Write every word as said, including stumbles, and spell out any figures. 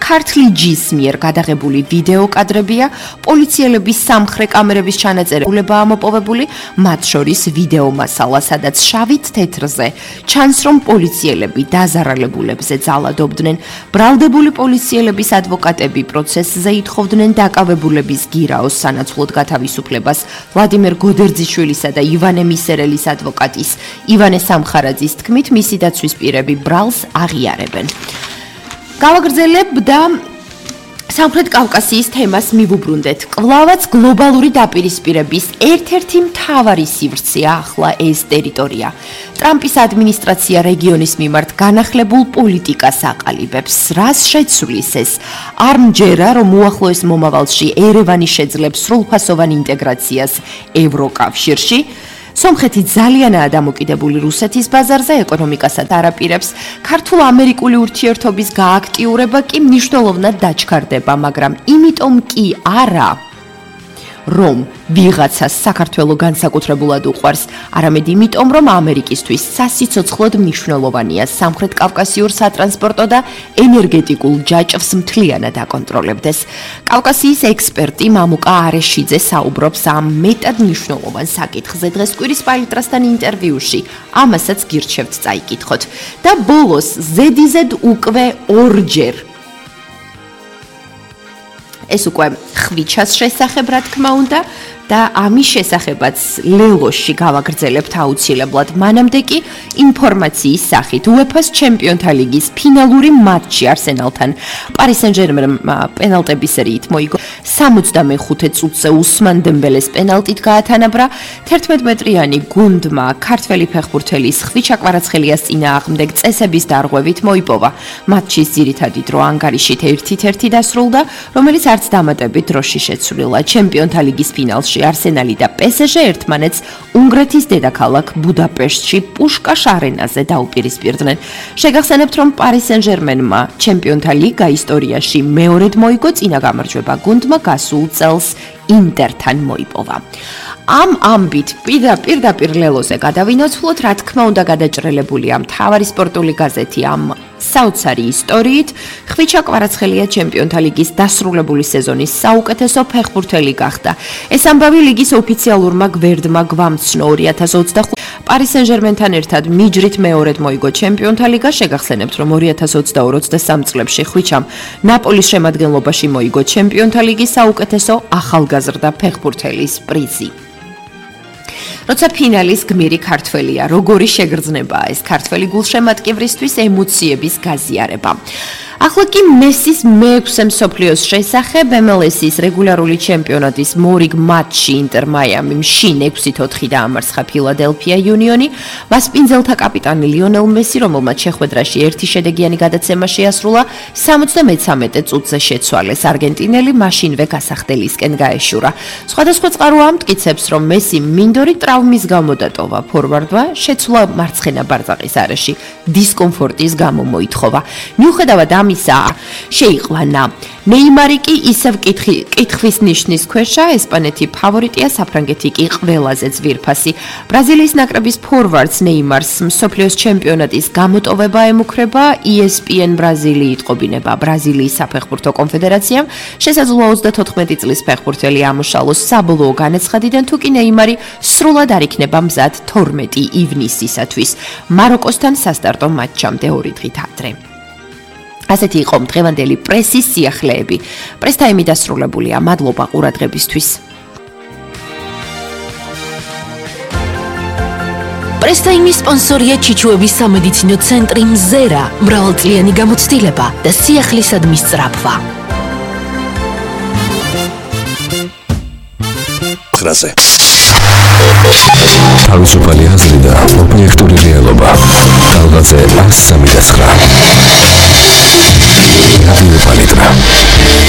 ქართლი ჯის მიერ გადაღებული ვიდეო კადრებია, პოლიციელების სამხრე კამერების ჩანაწერებულება ამოპოვებული, მათ შორის ვიდეო მასალა, სადაც შავით თეთრზე ჩანს, რომ პოლიციელები დაზარალებულებზე ძალადობდნენ. ბრალდებული პოლიციელების ადვოკატები პროცესზე ითხოვდნენ დაკავებულების გირაოს სანაცვლოდ გათავისუფლებას. ვლადიმერ გოდერძიშვილისა და ივანე მისერელის ადვოკატის ივანე სამხარაძის თქმით, მისი დაცვის პირები ბრალს აღიარებენ. გავაგრძელებ და სამხრეთ კავკასიის თემას მივუბრუნდეთ. კვლავაც გლობალური დაპირისპირების ერთ-ერთი მთავარი სივრცეა ახლა ეს ტერიტორია. ტრამპის ადმინისტრაცია რეგიონის მიმართ განახლებულ პოლიტიკას აყალიბებს. რას შეცვლის ეს? არ მჯერა, რომ უახლოეს მომავალში ერევანი შეძლებს სრულფასოვან ინტეგრაციას ევროკავშირში. სომხეთი ძალიანაა დამოკიდებული რუსეთის ბაზარზე, ეკონომიკასაც არაპირებს. ქართულ-ამერიკული ურთიერთობის გააქტიურება კი მნიშვნელოვნად დაჩქარდება, მაგრამ იმიტომ კი არა, რომ ვიღაცას საქართველო განსაკუთრებულად უყვარს, არამედ იმიტომ, რომ ამერიკისთვის სასიცოცხლოდ მნიშვნელოვანია სამხრეთ კავკასიურ სატრანსპორტო და ენერგეტიკულ ჯაჭვს მთლიანად აკონტროლებდეს. კავკასიის ექსპერტი მამუკა არეშიძე საუბრობს ამ მეტად მნიშვნელოვან საკითხზე დღეს კვირის პალიტრასთან ინტერვიუში. ამასაც გირჩევთ წაიკითხოთ. და ბოლოს ზედიზედ უკვე ორჯერ ეს უკვე ხვიჩას შესახებ, რა თქმა უნდა, და ამის შესახებაც ლელოში გავაგრძელებთ აუცილებლად. მანამდე კი ინფორმაციის სახით უეფა-ს ჩემპიონთა ლიგის ფინალური მატჩი არსენალთან პარი სენ-ჟერმენმა პენალტების სერიით მოიგო. სამოცდამეხუთე წუთზე უსმან დემბელეს პენალტით გაათანაბრა. თერთმეტმეტრიანი გუნდმა ქართველი ფეხბურთელის ხვიჩა კვარაცხელიას წინააღმდეგ წესების დარღვევით მოიპოვა. მატჩის ძირითადი დრო ანგარიშით ერთით ერთი დასრულდა, რომელიც არც დამატებით დროში შეცვლილა. ჩემპიონთა ლიგის ფინალში არსენალი და პესეჟე ერთმანეთს უნგრეთის დედაქალაქ ბუდაპეშტში პუშკაშ არენაზე დაუპირისპირდნენ. შეგახსენებთ, რომ პარი სენ-ჟერმენმა ჩემპიონთა ლიგა ისტორიაში მეორედ მოიგო, წინა გამარჯვება გუნდმა გასულ წელს ინტერთან მოიპოვა. ამ ამბით პირდაპირ ლელოზე გადავინოცვლოთ, რა თქმა უნდა გადაჭრელებულია მთავარი სპორტული გაზეთი ამ საოცარი ისტორიით. ხვიჩა კვარაცხელია ჩემპიონთა ლიგის დასრულებული სეზონის საუკეთესო ფეხბურთელი გახდა. ეს ამბავი ლიგის ოფიციალურმა გვერდმა გვამცნო. ორი ათას ოცდახუთი პარი სენ-ჟერმენთან ერთად მიჯრით მეორედ მოიგო ჩემპიონთა ლიგა. შეგახსენებთ, რომ ორი ათას ოცდაორი ოცდასამი წლებში ხვიჩამ ნაპოლის შემადგენლობაში მოიგო ჩემპიონთა ლიგის საუკეთესო ახალგაზრდა ფეხბურთელის პრიზი. როცა ფინალის გმირი ქართველია, როგორი შეგრძნებაა ეს ქართველი გულშემატკივრისთვის ემოციების გაზიარება. ახლა კი მესის მეექვსე მსოფლიოს შესახებ ემ ელ ეს-ის რეგულარული ჩემპიონატის მორიგ მატჩი ინტერ მაიამიმ შინ ექვსით ოთხი დაამარცხა ფილადელფია იუნიონი. მას პინძელთა კაპიტანი ლიონელ მესი, რომელმაც შეხვედრაში ერთი შედეგიანი გადაცემა შეასრულა, სამოცდამეცამეტე წუთზე შეცვალეს. არგენტინელი მაშინვე გასახდელისკენ გაეშურა. სხვადასხვა წყარო ამტკიცებს, რომ მესი მინდორი ტრავმის გამო დატოვა. ფორვარდმა შეცვლა მარცხენა ბარწაყის არეში დისკომფორტის გამო მოითხოვა. მიუხედავად ამისა, შეიყვანა. ნეიმარი კი ისევ კითხვის ნიშნის ქვეშა, ესპანეთი ფავორიტია, საფრანგეთი კი ყველაზე ძვირფასი. ბრაზილიის ნაკრების ფორვარდს ნეიმარს მსოფლიოს ჩემპიონატის გამოტოვება ემუქრება. ი ეს პი ენ ბრაზილი იტყობინება ბრაზილიის საფეხბურთო კონფედერაციამ. შესაძლოა ოცდათოთხმეტი წლის ფეხბურთელი ამოშალოს საბოლოო განაცხადიდან, თუ კი ნეიმარი სრულად არ იქნება მზად თორმეტი ივნისისათვის მაროკოსთან სასტარტო მატჩამდე ორი დღით ადრე. ასეთი იყო დღევანდელი პრესის სიახლეები. პრესტაიმი დასრულებულია. მადლობა ყურადღებისთვის. პრესტაიმის სპონსორია ჩიჩუების სამედიცინო ცენტრი მზერა, მრავალწლიანი გამოცდილება და სიახლისადმის სწრაფვა. ხრაზე თავისუფალი აზრი და ობიექტური რეალობა. თავგაზე ასსამი და ცხრა. რადიო პალიტრა.